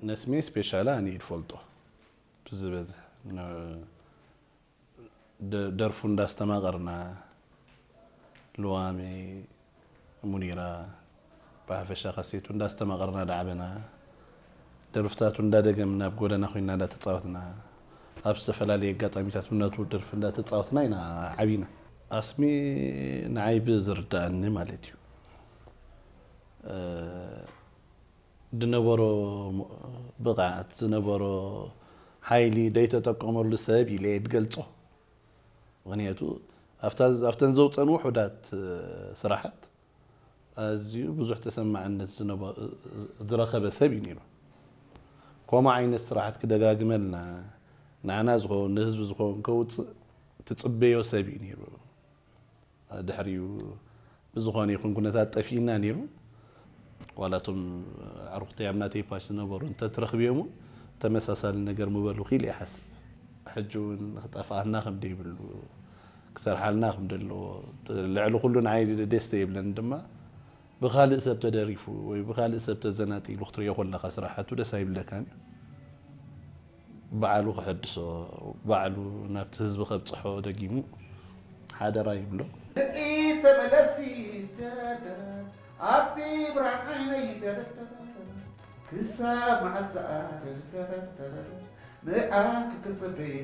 ነስሜ ስፔሻል ኣነ ይፈልጦ ብዝበዝሕ ን- ደ- ደርፉ እንዳስተማቐርና፣ ልዋመይ፣ ሙኒራ፣ ብሓፈሻ ካሴቱ እንዳስተማቐርና ዳዕበና፣ ደርፍታቱ እንዳደገምና ኣብ ጎደና ኮይና እንዳተፃወትና፣ ኣብ ዝተፈላለዩ ኣጋጣሚታት ምናቱ ደርፊ እንዳተፃወትና ኢና ዓቢና። ኣስሚ ንዓይ ብዝርዳእኒ ማለት እዩ። ዝነበሮ ብቕዓት ዝነበሮ ሓይሊ ደይተጠቀመሉ ሰብ ኢለ እየ ዝገልጾ። ምኽንያቱ ኣብተን ዘውፀን ውሑዳት ስራሓት ኣዝዩ ብዙሕ ተሰማዕነት ዝረኸበ ሰብ እዩ ነይሩ። ከምኡ ዓይነት ስራሓት ክደጋግመልና ንዓና ዝኸውን ንህዝቢ ዝኸውን ከውፅእ ትፅበዮ ሰብ እዩ ነይሩ። ድሕሪኡ ብዝኾነ ይኹን ኩነታት ጠፊእና ነይሩ። ዋላ እቶም ኣዕሩኽተይ ኣብ ናተይ ፓሽ ዝነበሩ እንተትረኽብዮም እውን ተመሳሳሊ ነገር ምበሉ ክኢል ይሓስብ። ሕጂ እውን ክጠፍኣና ከም ደይብሉ ክሰርሓልና ከም ዘለዎ ልዕሊ ኩሉ ንዓይ ደስ ዘይብለኒ ድማ ብኻልእ ሰብ ተደሪፉ ወይ ብኻልእ ሰብ ተዘናጢሉ ክትሪኦ ከለኻ ስራሓቱ ደስ ኣይብለካን እዩ። ባዕሉ ክሕድሶ ባዕሉ ናብቲ ህዝቢ ከብፅሖ ደጊሙ ሓደራ ይብሎ። ተመለሲ ኣቲ ብርሃን ዓይነይ ክሳብ መዓስ ደኣ ንዓክ ክፅበይ